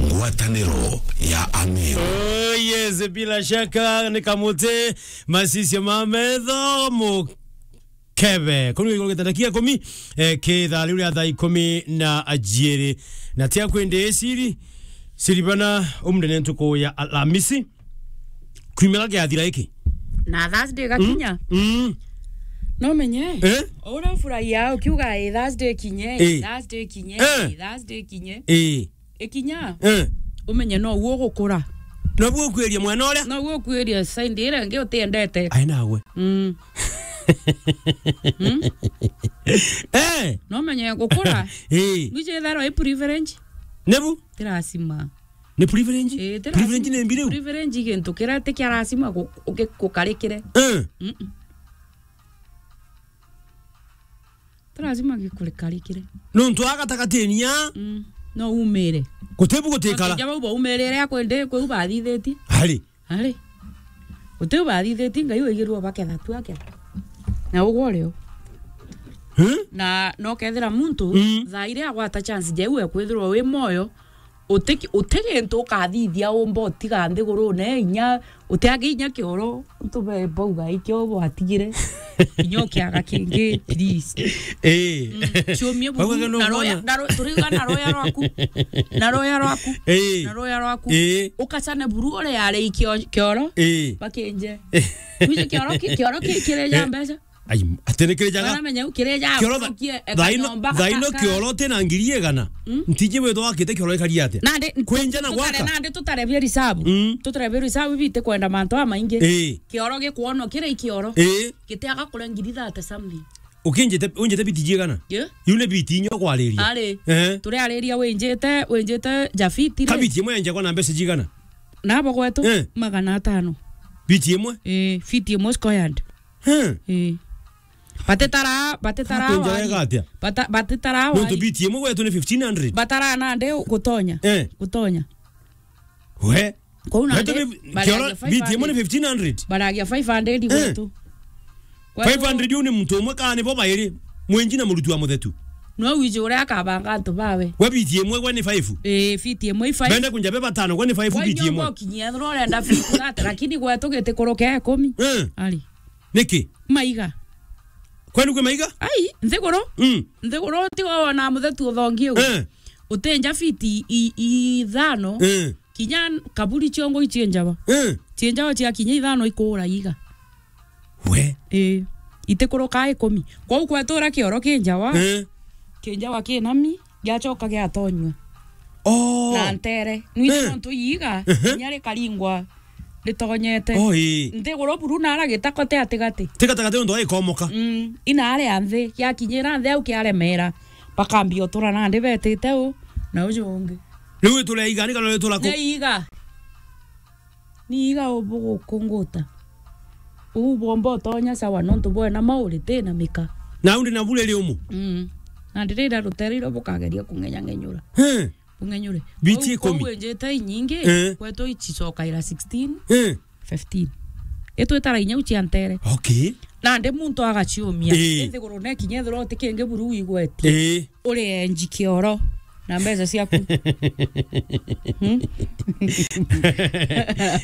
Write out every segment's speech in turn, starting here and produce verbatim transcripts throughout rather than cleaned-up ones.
Ngwataniro ya Amir. Oh, yes, bila shaka ni kamuti masisio ma metho mukebe. Kunu iguru gitanda kia ikumi, eh, ki thaa riu ria thaa ikumi na ajiiri. Na tia kwende siri, siri bana umde ni ntuku ya Alhamisi. Kwimera giathira iki. Na Thursday gakinya. Mm. No menye. Eh? Ura furahia ukiuga, "Eh, Thursday kinye, eh, Thursday kinye, eh, Thursday kinye." Eh. Ikinya. Eh. Umenye no uo gukura. No uo kwiria mwana uria. No uo kwiria side ira ingi utiendete. Ai nawe. Mm. Mm. Eh. No menye gukura. Eh. Ngwije itharo i privilege. Nebu? Ti lazima. Ni privilege? Eh, ti privilege lazima. Ni mbi riu? Privilege gintu kiria ti kia lazima gu-, ugi-, gukarikire. Eh. Mm-mm. Ti lazima gikukarikire. Nontu a gatagatiini ya. Mm. No umire. Guti bu gutikara. Bakija bau baumirire akwende kweu bathithitie. Ari. Ari. Guti u bathithitie, Ngai waigirwe baketha tu aketha. Na ugwo rio. Hmm? Na no kethira muntu, mm, thaa iria agwata chance jeu ekwithirwa wi moyo, uti-, uti gintu ukathithia umba utiga nthigurune inya, utiage inya kioro, tube bauga ikio bwatigire. Inya ukiaga kingi, please. Eh. Mm, ciumie buru, bauga no na roya, mwana. Na ro-, turiuga na roya rwaku. Na roya rwaku. Eh. Na roya rwaku. Eh. Ukacane buru ore yare ikio-, kioro. Eh. Bakinje. Wije kioro ki-, kioro ki-, kireja, eh, mbeca. Ai, ati ni kirejaga? Bana menya u kireja, kioro tha-, ukie, eka thaino, nyomba, thaino ka-, ka-, kioro ti na ngiri igana. Mm. Ntiji witho wakite kioro ikari atia? Nandi, kwinja na tutare, gwaka? Nandi tutarebia risabu. Mm. Tutarebia risabu biti kwenda mantu amaingi. Eh. Kioro gikwonwa kiri kioro. Eh. Gitiaga kuria ngiri thate something. Ukinjite, unjite biti jigana? Yeah. Iu ni biti inya kwariria. Ari. Eh. Turiariria winjite, winjite ja fiti ri. Ka biti imwe yenjagwa na mbeca jigana? Nabo gwetu, eh, magana atano. Biti imwe? Eh, fiti imwe squared. Hmm. Eh. Batitara, batitara. Kakwinja wari. Wega atia? Bata-, batitara. Nontu wari. Biti imwe gwetu ni fifteen hundred. Batara nandi gutonya. Eh. Gutonya. We. Kou nandi, wetu bi-, baragia kioro, biti imwe ni fifteen hundred. Baragia five hundred. Eh. Gwetu. Gwetu five hundred u ni muntu umwe kana ni bo bairi? Mwenji na muruti wa muthetu. No wiji uria akabanga antu bawe. We biti imwe gwe ni five? Eh, fiti imwe i five. Bende kunja be batano gwe ni five. Gwe biti imwe. Nyongo kinyia, no urenda fiti thate, lakini gwetu giti kuruke ikumi. Eh. Ari. Niki? Maiga. Kwenu kwi maiga? Ai, nthiguru? Mm. Nthiguru ti wona muthetu uthongi u. Eh. Utinja fiti i, i, ithano. Eh. Kinya kaburi ciongo icienjawa. Eh. Cienjawa cia kinya ithano ikura iga. We. Eh. Itikuruka ikumi. Kwou kwetura kioro kinjawa. Eh. Kinjawa kinami, giacoka giatonywa. Oh. Na ntere. Nwiji, eh, nontu iiga, ehe, kinya rikaringwa ritonyete. Oh, ii. Nthiguru buru nara gitako ti atigati. Ti gatagati nontu aikomoka. Mm, inare a nthi, giakinyira nthi au kiaremera. Bakambia utura nandi betite u, na uju ungi. Riu itura iga, ni kana itura ku? Ni iga. Ni iga ubugukunguta. Uu bwomba utonya sawa, nontu bwena mauri ti na mika. Na undi na bure ri umu? Mm. Na ndirira rutere iro bukageria kung'enyang'enyura. He. Bung'enyure. Biti ikumi. Kwou, kwou injite inyingi, eh, kwetu icicokaira sixteen, eh, fifteen. Itwitara inya u cia ntere. Okay. Nandi muntu agaciumia. Eh. Ithiguru ne kinya ithirwa uti kingi buru wigwetie. Eh. Uri enji kioro na mbeca ciaku. Hmm?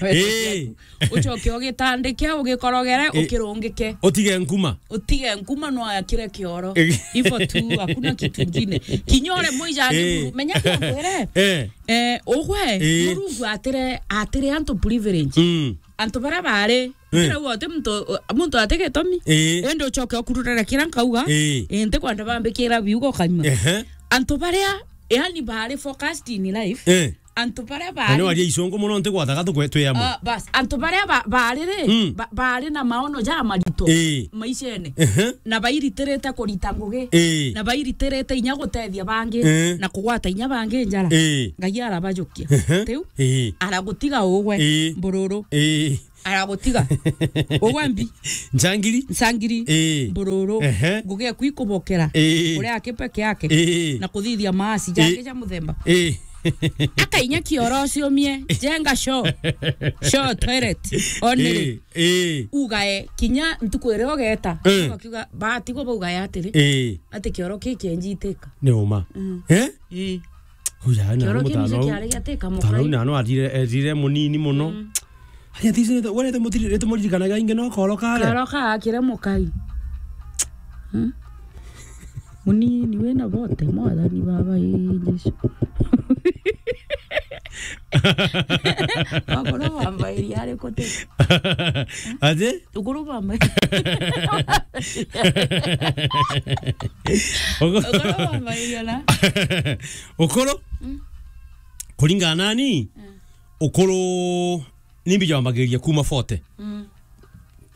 Eh. Ucoke ugitandike, ugikorogere, eh, ukirungike. Utige nkuma. Utige nkuma, no akire kioro. Eh. Hivyo tu, hakuna kitu kingine. Kinya ure muijani, eh, buru. Menya kia kwere. Eh. Eh, ugwe, eh, Murungu atire, atire antu privilege. Mm. Antu baria bari, eh, ndirauga uti muntu, muntu ati gitumi. Eh. Indi ucoke ukururere kiria nkauga. Eh. Eh, ntikwenda bambikira biugo kaima. Ehe. Antu baria, yani, bari focused in life. Eh. Antu baria bari, na ni waria icungu muno, ntigwathaga tukwe twi amwe. Ah, bas, antu baria ba-, bari ri, mm, ba-, bari na maono ja marito, ii, maishene. Ehe. Na bairitirite kurita ngugi. Ii. Na bairitirite inya gutethia bangi, ii, na kugwata inya bangi njara. Ii. Ngai arabajukia. Ehe. Riu, ii, aragutiga ugwe, ii, mbururu. Ii. Aragutiga. Ugwe mbi. Njangiri? Ncangiri. Ii. Mbururu. Ehe. Ngugi eku ikubokera. Ii. Uria aki peke yake. Ii. Na kuthithia maasi, ii, jangi ja muthemba. Ii. Akainya kioro ciumie, jenga choo. Choo, toilet. Onere. Ii. Ii. Ugae, kinya ntuku iria ugeta. Ii. Ugakiuga, batigwo baugae atiri. Ii. Ati kioro kiki enjitika. Ni uma. Mm. Eh? Ii. Kuja na Kioro kiu mutano nicio au. Kiari giatika Mutano mukai. Na no atire, etire munini muno. Mm. Ari atire, wale te mutiri, te muririkanaga inge no koro kare. Karo ka akire mukai. Hmm? Munini wina bote, mwathani baba, ii Jesu. Ukuru bwambairia ari kuti? Aje? Ukuru bwambairia. Uku- Ukuru bwambairia na? Ukuru? Mm. Kuringana nani? Mm. Ukuru ni mbija wambagiriria kuma forty. Mm.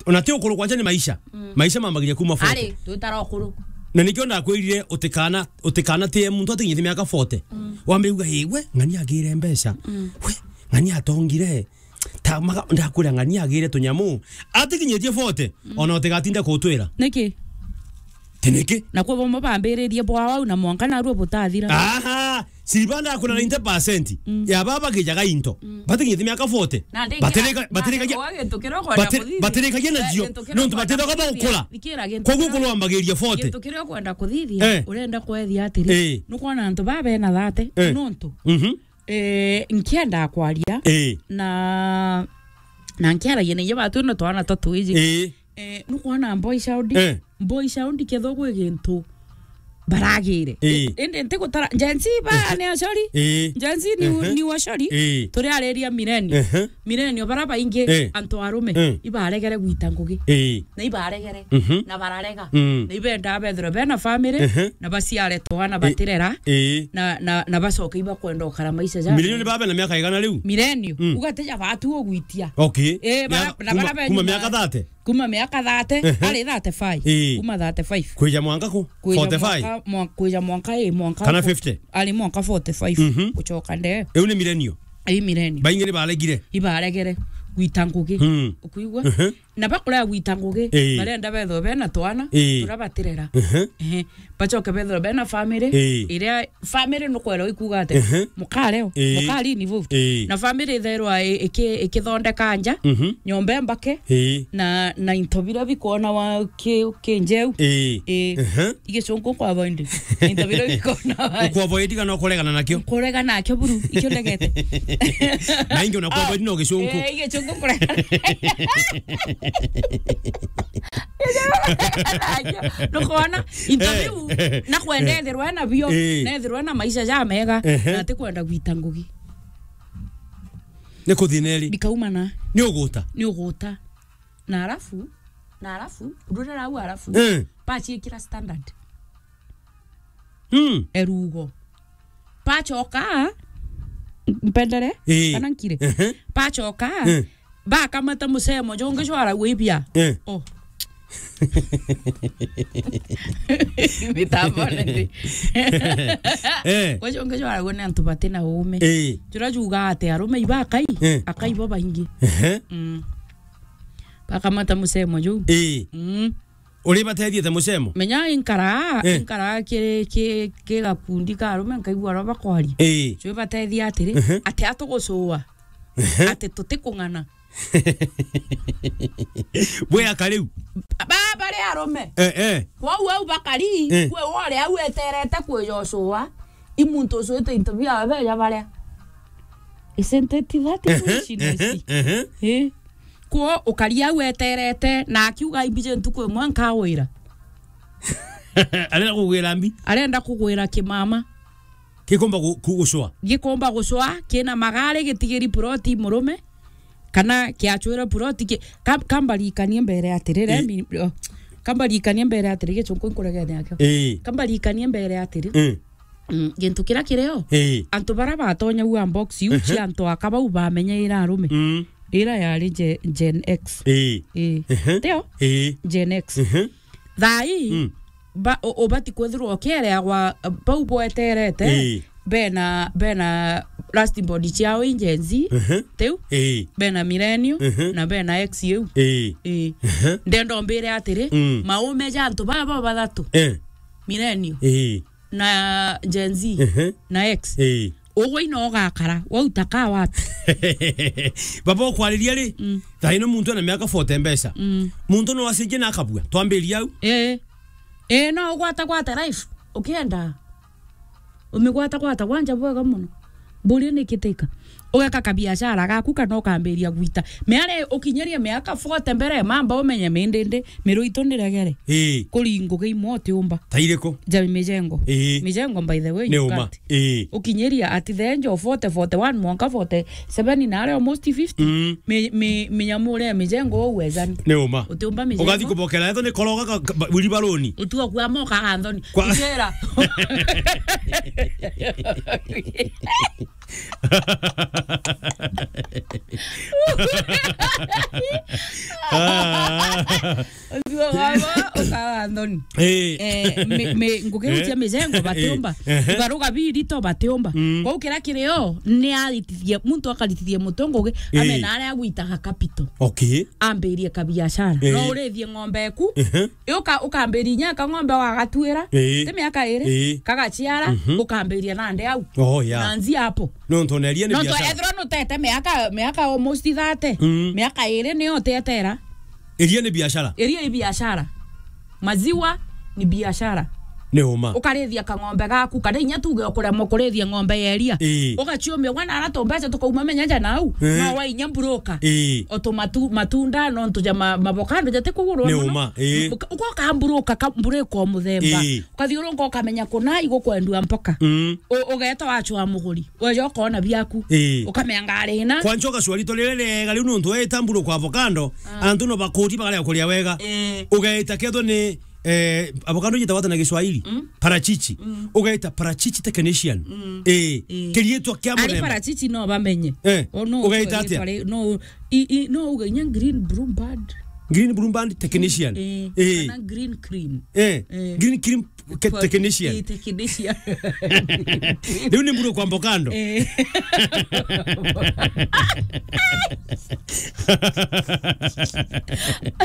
Ona ti ukuru kwanja ni maisha. Mm. Maisha mambagiriria kuma forty. Ari, tutara ukuru. Na nikio ndakwirire utikana, utikana tie muntu atikinyite miaka forty. Mm. Wambe uga, "Ii, we, ng'ani agire mbeca. Mm. We, ng'ani atongire." Ta maga-, ndakwira ng'ani agire tunyamu. Atikinyitie forty, mm, ona utigatinda kutwira. Niki? Ti niki? Na kwi bomo bambiririe bwa wau na mwanka narua butathira. Aha! Siriba ndakuna ninety percent, mm, ya baba gijaga into. Mm. Batikinyite miaka forty. Na ndingi- Batirika-, na batirikagia, ndingi- gintu kiria ukwenda bati-, kuthithia. Batirikagia na Eh, cio. Gintu kiria nontu ukwenda batithaga kuthithia. Baukura. Thikira gintu Koguo kiria kurwambagiria forty. Gintu kiria ukwenda kuthithia, eh, urenda kwethia atiri. Eh. Nukwona antu baba bena thate, eh, nontu. Mhm. Eh, nkienda kwaria. Eh. Na, na nkiaragia na inya batu na twana twa twiji. Eh. Eh, nukwona boy child? Eh. Boy child ketho gwi gintu baragire. Eh. Indi ntigutara, Gen Z ba, eh, ni acori. Eh. Gen Z ni, ehe, ni acori. Eh. Turi ariria millennial. Ehe. Millennial bara baingi, eh, antu arume, eh, ibaregere gwita ngugi. Eh. Na ibaregere. Mhm. Na bararega. Mm. Na ibenda bethirwe bena family, ehe, na baciare twana, eh, batirera. Eh. Na, na, na bacoke ibakwenda ukara maisha ja. Millennial ni baba na miaka igana riu? Millennial. Mm. Ugateja batu ugwitia. Okay. Eh, bara, na bara kuma, be kuma nyuma. Miaka thirty? Kuma miaka thirty, ehe, ari thirty-five. Ii. Kuma thirty-five. Kwija mwanka ku? Kwija forty-five? Mwanka, mwa-, kwija mwanka, ii, mwanka kana ku-, fifty? Ari mwanka forty-five. Mhm. Gucoka ndee. Iu ni millennial? Ii, millennial. Baingi ni baregire? Ibaregere. Gwita ngugi. Hmm. Ukwigua? Mhm. Na bakurea gwita ngugi, ii, barenda bethwe bena twana, ii, turia batirera. Mhm. Ehe. Bacoke bethirwe bena family, ii, iria family nukwera ikuga ati, ehe, mukare o, ii, mukari involved. Ii. Na family itherwa i-, iki-, ikithondeka nja, mhm, nyomba embake, ii, na, na into biria bikonawa ki-, kinjeu. Ii. Ii. Ehe. Igicungu kwa avoid. Into biria bikonawa. Ku avoid kana kuregana nakio? Kuregana nakio buru, ikio ndegete. Na ingi una ku avoid no gicungu. Eh, igicungu kuregana. Nukwona? Into biu, eh, na kwenda, eh, ethirwe na bio, eh, na ethirwe na maisha ja mega, ehe, na atikwenda gwita ngugi. Ni kuthina eri? Bikaumana. Ni uguta? Ni uguta. Na alafu, na alafu, ndurira au alafu, eh, baciikira standard. Mm. Erugo. Bacoka, mpendere, ii, kana nkire. Ehe. Bacoka, eh, bakamata mucemo, jungi jwaragwa ibia. Eh. Oh. Mitambone ndi. Eh. Gwe jungi jwaragwa ni antu batina uume. Eh. Juria jugaa ati arume ibakai, eh, akai bo baingi. Ehe. Mm. Bakamata mucemo juu. Eh. Mm. Uri batethie ta mucemo? Menya inkaraa, eh, inkaraa ki, ki, ki gakundi ka arume, nkaigua aria bakwaria. Eh. Cui batethie atiri, ehe, ati atugucua. Ehe. Ati tutikung'ana. Bwe aka riu? Ba, bari arume. Eh, eh. Kwou au bakari, eh, kwi wore au eterete kwija ucua. I muntu ucuite into biawe beja baria. Isn't it that foolishness? Ehe, ehe, ehe. Eh? Kwo ukaria au eterete, na akiuga, "Imbije ntuku imwe nkagwira." Arenda kugwira mbi? Arenda kugwira kimama. Gikomba gu-, ku-, gucwa? Gikomba gucwa, kina magari, gitigiri ploti murume, kana kiacwira ploti ki-, ka-, kambarikanie mbere atiri, eh, mi-, oh, kambarikanie mbere atiri, gicunku nkuregere nakio. Eh. Kambarikanie mbere atiri. Eh. Mm, gintu kiria kirio, eh, antu baria batonyaua box iu, ehe, cia antu aka bau bamenyeire arume. Mm. Ira yari Ge-, Gen X. Eh. Eh. Ehe. Tio? Eh. Gen X. Ehe. Thaa ii, mm, ba-, u-, ubati kwithirwa ukiereagwa, bau bweterete, eh, bena, bena last body ciao i Gen Z, ehe, tiu? Eh. Bena millennial, ehe, na bena X iu. Eh. Eh. Ehe. Ndenda umbire atiri, mm, maume ja antu baba bathatu. Eh. Millennial. Eh. Na Gen Z, ehe, na X. Ii. Ugwe ino ugakara, wauta ka wapi? Baba ukwariria ri? Mm. Thaa ino muntu ena miaka forty mbeca. Mm. Muntu no acenjie na akabua. Twambiria au. Ii. Ii, no ugwata gwata life, ukienda. Umigwata gwata gwanja bwega muno. Mburi ni kitika. Ugeka kabiashara gaku kana ukambiria gwita. Miare ukinyirie miaka forty mbere, mamba umenye mindindi, miru itu ni regere. Ii. Kuri ngugi imwe utiumba. Ta iriku? Jami mijengo. Ii. Mijengo, by the way, ni you uma. Can't. Ii. Ukinyiria ati the age of forty, forty-one, mwanka forty-seven, na ari almost fifty. Mm. Mi-, mi-, minyamu uria mijengo uwezani. Ni uma. Utiumba mijengo. Ugathi kubokera, eto ni koroga ka, ka, ba-, wheelbarrow-ni. Utua kuamoka ganthoni. Kwa- Njira. Utua wabo ukaga nthoni. Eh. Eh, mi-, mi-, ngugi iu cia mijengo batiumba. Eh. Ibaruga birito batiumba. Mm. Kwou kira kirio ni aritithie, muntu akaritithie mutwe ngugi, eh, amena aria agwitaga capital. Okay. Ambirie kabiashara. Eh. No urithie ng'ombe eku. Ehe. Uka-, ukambiri inya kang'ombe wagatuira. Ii. Ti miaka iri, ii, kagaciara, mhm, ukambiria nandi au. Oh, yeah. Nanzi hapo. Nontu ona iria ni biashara. Nontu ethirwa nutete miaka, miaka almost thirty, mm, miaka iri niyo utetera. Iria ni biashara. Iria ni biashara. Maziwa ni biashara. Ni uma. Ukarithia kang'ombe gaku, kana inya tuge ukuremwa kurithia ng'ombe ya iria. Ii. Ugaciumia, wana ara tumbeca tukauma menya ja nau. Ii. No wa inya broker. Ii. O tumatu-, matunda, nontu ja ma-, mavokando jati kugurwa. Ni muno. Uma, ii. Uka-, ugoka mburuka ka-, mburuka o muthemba. Ii. Ukathiurunka ukamenya kuna igukwendua mpoka. Mm. U-, ugeeta wachwa muguri. Weja ukona biaku. Ii. Ukamenya ngari ina. Kwanza ugacua rito riri riega riu nontu weeta mburuka avocado, ah, antu no bakuti bakarega kuria wega. Ii. Ugeeta kethwa ni Eh, avocado yitagwa ata na Kiswahili? Mm. Parachichi. Mm. Ugaita parachichi technician. Mm. Eh, eh, kiriitwa kia. Ari muremba. Parachichi no bamenye. Eh, o no ugaita atia? Pare-, no, i, i, no uga inya green broom band. Green broom band technician. Eh, eh, kana green cream. Eh, eh, green cream ke-, pa-, technician. Eh, technician. Riu ni mburu kwa mbokando. Eh.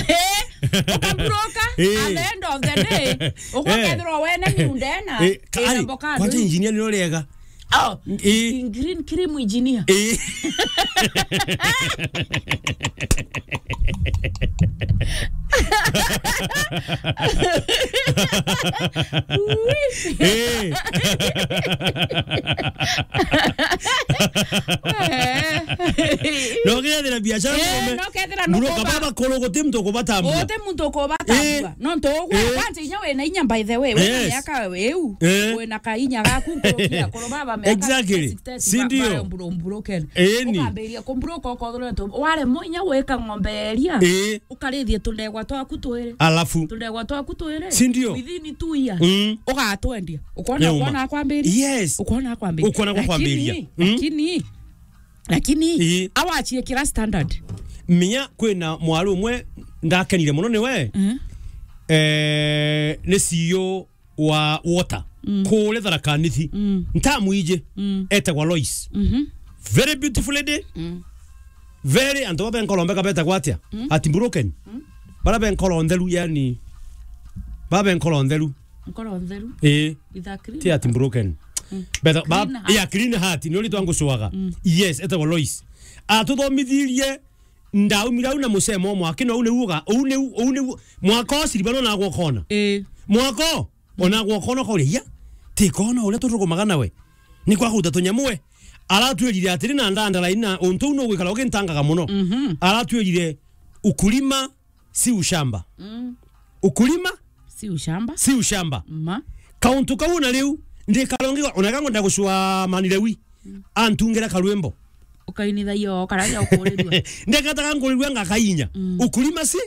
Eh, ukamburuka, eh, at the end of the day, eh, ukakethirwa wene miunda ena, eh, ka-, ina ari, mbokando. Kwanja engineer ni uriega. Oh, eh, green cream engineer. Eh. Eh. No kethira biashara. Eh, murume. No kethira no mburuka kuba. Baba kuru guti muntu ukubatambua. Guti muntu ukubatambua. Eh. No ntu ugwe, eh, kwanza inya wina inya, by the way, wina, yes, miaka iu. Eh. Wina kainya gaku nkurukia kuru baba miaka. Exactly. Sixty, si ndio? Ba-, ba-, mburu-, mburuke. Eni. Ukambiria kumburuka ukothura tu. Waremwa inya gwika ng'ombe ya iria. Eh. Ukarithie tundegwa twaku twiri. Alafu. Tundegwa twaku twiri. Si ndio? Within two years. Mm. Ugatwendia. Ukona, ni uma, ukona akwambiria. Yes. Ukona akwambiria. Ukona akwambiria. Lakini, mm, lakini, lakini, ii, awachie kira standard. Minya kwina mwaru umwe ndakenire muno niwe. Mm. Eh, ni C E O wa water. Mm. Kule Tharaka Nithi. Mm. Ntamwiji. Mm. Etagwa Lois. Mhm. Very beautiful lady. Mm. Very, antu babe nkoro mbega betagwa atia? Mm. Ati broken. Mm. Bara be nkoro ntheru, yani. Babe nkoro ntheru. Nkoro ntheru. Eh. With a clean. Ti ati broken. Mm. Beta, ba-, clean heart. Yeah, clean heart. Ni uri twangucuaga. Mm. Yes, etagwa Lois. Atuthomithirie, ndaumire au na mucemo mwaki, no au niu uga-, au niu, au niu, mwaka o siriba no nagwa ukona. Eh. Mwaka o, ona gwa ukona ukauria, "Iya, ti kona uria turugumaga nawe. Ni kwa kuruta tunyamu we?" Aratwirire atiri na ndandara ina untu uu nugwikara ugintangaga muno. Mhm. Aratwirire, "Ukulima si ushamba." Mm. Ukulima si ushamba. Si ushamba. Ma. Kauntu kau na riu, ndikarongi, ona kangwenda gucua Mani Lewi. Mm. Antungira karwimbo. Ukainithagia o karagia ukurirua. Ndekataga ngurirua ngakainya. Mm. Ukulima si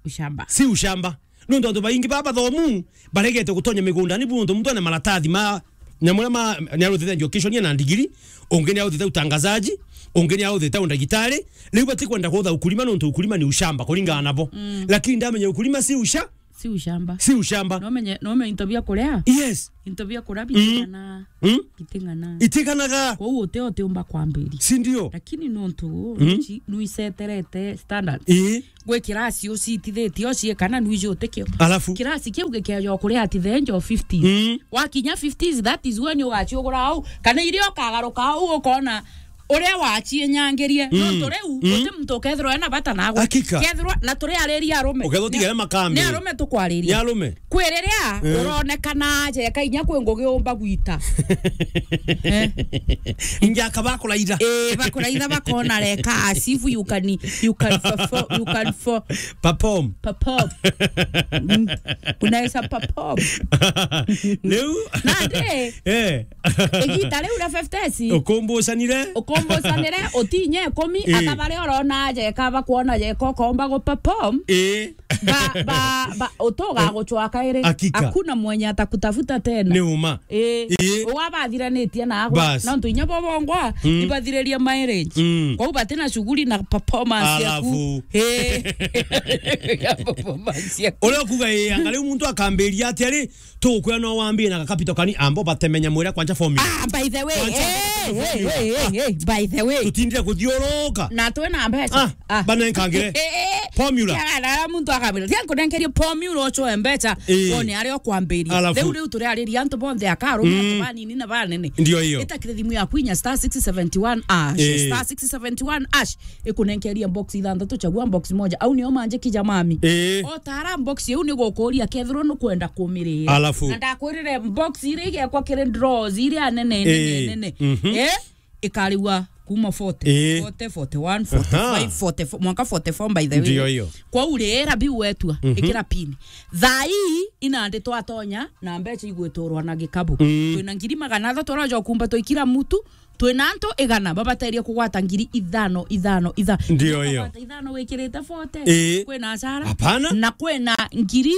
ushamba. Si ushamba. Nontu antu baingi baba bathomu, baregete gutonya migundani, bu nontu muntu ena maratathi ma, nyamu ma, ni aruthite education na ndigiri, ungi ni aruthite utangazaji, ungi ni aruthite undagitari. Riu batikwenda kutha ukulima, nontu ukulima ni ushamba, kuringana nabo. Mm. Lakini ndamenya ukulima si usha-, si ushamba. Si ushamba. No menye, no menye into bia kuria. Yes. Into bia kuria, mm, biting'ana. Mm. Biting'ana. Iting'anaga. Kwou uti utiumba kwambiria. Si ndio? Lakini nontu, mm, nuici-, nuiseterete standard. Ii. Gwi kirasi ucitithitie uciikana nuiji utikio. Alafu? Kirasi kiu gikeeja kuria at the age of fifties. Mm. Wakinya fifties, that is when ugaciugura au. Kana iria ukagaruka au ukona uria wacienyangirie. Mm. Nontu riu, mm, uti muntu ukethirwa ena bata nagwe. Hakika. Kethirwa, na turi ariria arume. Ukethirwa utigere makambi. Ni arume tukwariria. Ni arume. Kwi riria, eh, uronekana aja eka inya kwi ngugi umba gwita. Eh. Ingi akaba kuraitha. Eh, bakuraitha bakona reka as if you can, you can perform, you can for- Perform. Perform. Mm. Unaweza perform. Riu. Nandi. Eh. Igita riu ria fifty s. Ukumbucanire. Ukumbucanire, utinye ikumi, eh, akaba ri urona aja eka bakwona aja eka ukomba gu perform. Eh. Ba, ba, ba, utuga gucwa kairi. Hakika. Hakuna mwenye atakutafuta tena. Ni uma. Ii. Ii. Uga bathiranitie naagwe. Bas. Nontu inya bo bongwa, mm, ibathiririe marriage. Mm. Kwou batina shughuli na performance yaku. Alafu. Ii. Ya performance yaku. Uria ukuga, ii, anga riu muntu akambiria ati ari, tukwira no wambie na gakapito kani, ambo batemenya mwira kwanja formula. Ah, by the way. Kwanja hey, hey, formula. Hey, hey, hey, by the way. Tutindire kuthiuruka. Na twi na mbeca. Ah. Ah. Banenkangire. Eh, eh, eh. Formula. Tiaga na muntu akabira. Tia nkunenkerie formula ucoe mbeca. Eh. Wone aria ukwambiria. Alafu. Riu, riu turiariria antu bonthe akarume, mm, antu banini na banene. Ndio hiyo. Itakire thimu yaku inya star six seventy one hash. Eh. Star six seventy one hash. Ikunenkeria box ithanthatu, chagua box moja. Au nio manje kija mami. Eh. Otara box iu ni gukuria kethirwo nukwenda kumirira. Alafu. Na ndakwirire box iria igekwa kiri draws iria nene, nene, eh, nene. Mhm. Eh? Ikarigwa kuma forty, ii, forty, forty one, aha, forty five, forty four, mwanka forty four, by the way. Ndio hiyo. Kwou rira biu wetua, mhm, ikira pin. Thaa ii inandi twatonya na mbeca igwiturwa na gikabu. Mm. Twina ngiri magana athatu aroja ukumba twi kira mutu, twina antu igana babaterie kugwata ngiri ithano, ithano, itha-, ndio hiyo. Kugwata ithano wikirite forty, ii, kwina acara. Hapana. Na kwina ngiri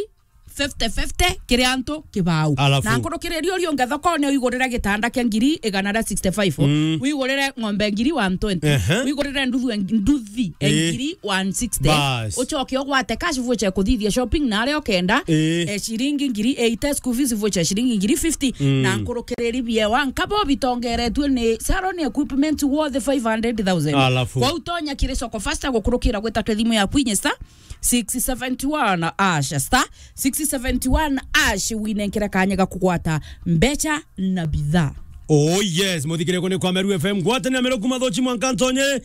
fifty fifty kiri antu kibau. Alafu. Na nkurukiriria uria ungi thokone uigurire gitanda kia ngiri igana ria sixty five, mm, uigurire ng'ombe ngiri one twenty, ehe, uigurire nduthu e-, nduthi e, ii, ngiri one sixty. Bas. Ucoke ugwate cash voucher kuthithia shopping na aria ukenda, ii, e, ciringi ngiri eighty, school fees voucher ciringi ngiri fifty, mm, na nkurukiriri biewa nkabo bitongeretue ni salon equipment worth five hundred thousand. Alafu. Kwou tonya kiri Soko Faster gukurukira gwita kwi thimu yaku inya star six seventy one hash, star six seventy one hash, winenkere kanya ga kugwata mbeca na bidhaa. Oh yes, muthikire kuni kwa Meru F M, ngwatanira Meru kuma Thochi mwanka Ntonye.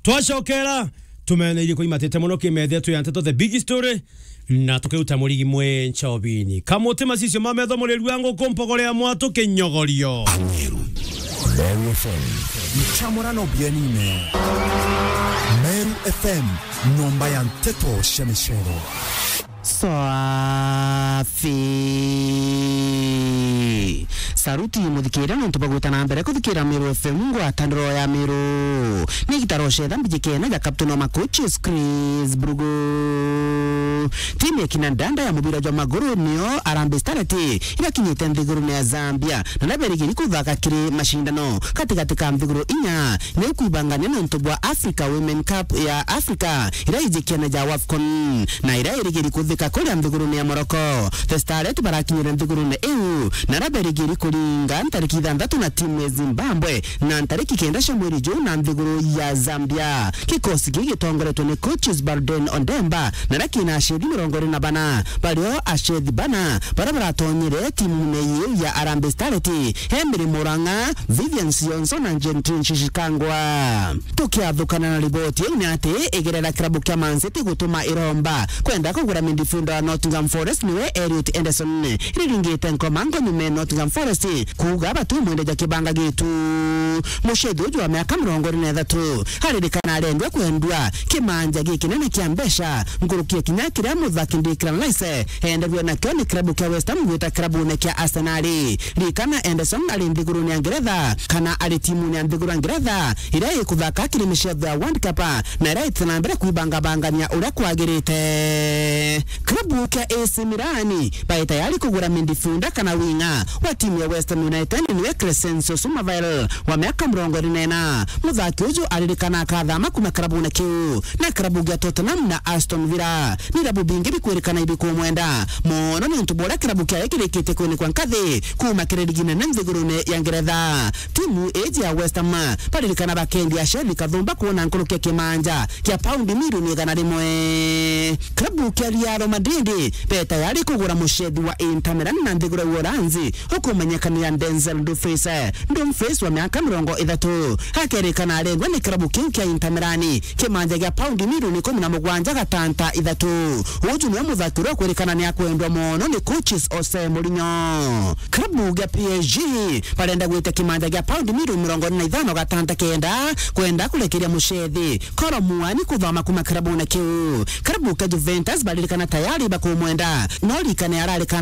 Twacokera, tumeneirie kuimatite muno kimethe tu ya nteto, the big story, na tukiruta murigi mwe nchobini. Kamuti macicio ma metho murirua nguku mpogore ya mwatu kinyogorio. Meru F M. Mchamurano bienine. Meru F M, nyomba ya nteto cia micero. Swafi. Saruti muthikira nontu bagwita na mbere kuthikira Meru F M, ngwataniro ya Meru. Ni gitaro cetha mbijikene ja Captain wa Macoaches, Chris Brugo. Timu ya kina ndanda ya mubira jwa maguru nio Harambee Starlets irakinyite nthigurune ya Zambia, na naberigiri kuthaka kiri mashindano katigati ka nthiguru inya ni kwibangania nontu bwa Africa Women Cup ya Africa ira ijikiana ja WAFCON, na ira irigiri kuthika kuria nthigurune ya Morocco. The Starlets barakinyire nthigurune iu, na naberigiri kuringa ntariki ithanthatu na timu ya Zimbabwe na ntariki kenda cia mweri juu na nthiguru ya Zambia. Kikosi giki gitongoretwe ni coaches Barden Ondemba, na kina aceri mirongo iri na bana. Bario aceri bana baria baratonyire timune iu ya Harambee Starlets, Emery Murang'a, Vivian Sionso na Gentry Nshishikangwa. Tukiathukana na riboti iu ni ati igerera kirabu kia Man City gutuma iromba kwenda kugura midfielder wa Nottingham Forest niwe Elliot Anderson, riringite nkomango nyuma ya Nottingham Forest kuuga batimwendeja kibanga gitu. Mucethi uju wa miaka mirongo iri na ithatu aririkana arendwa kwendua kimanja gikinene kia mbeca nkuruki ya kinya kiria muthaki Declan Rice enderue nakio ni kirabu kia West Ham gwita kirabune kia Arsenal. Ririkana Anderson ari nthigurune ya Ngeretha, kana ari timune ya nthiguru ya Ngeretha iria ikuthaka kiri micetho ya World Cup, na iria itite na mbere kwibangabangania uria kwagirite. Kirabu kia A C Milan bai tayari kugura midfielder kana winga wa timu ya West Ham United niwe Crescencio Summerville wa miaka mirongo iri na ina. Muthaki uju aririkana akathama kuma kirabune kiu na kirabu gia Tottenham na Aston Villa. Ni irabu bingi bikwirikana ibikumwenda mono niuntu bwa uria kirabu kiawe kirikite kwinikwa nkathi kuma kiri ligi nene nthigurune ya Ngeretha. Timu iji ya West Ham baririkana bakendia aceri kathumba kuona nkuruki ya kimanja kia paundi milioni igana rimwe. Klabu kia Real Madrid be tayari kugura mucethi wa Inter Milan na nthiguru ya Uholanzi ukumenyekana ya Denzel Dumfries. Dumfries wa miaka mirongo ithatu. Akerikana arendwa ni kirabu kiu kia Inter Milan, kimanja gia paundi milioni ikumi na mugwanja gatanta ithatu. Uju niwe muthaki uria ukwirikana ni akwendwa mono ni coaches Jose Mourinho. Kirabu gia P S G barenda gwitia kimanja gia paundi milioni mirongo ina na ithano gatanta kenda, kwenda kurekeria mucethi Kolo Muani kuthoma kuma kirabune kiu. Kirabu kia Juventus baririkana tayari bakumwenda, no rikane ararikana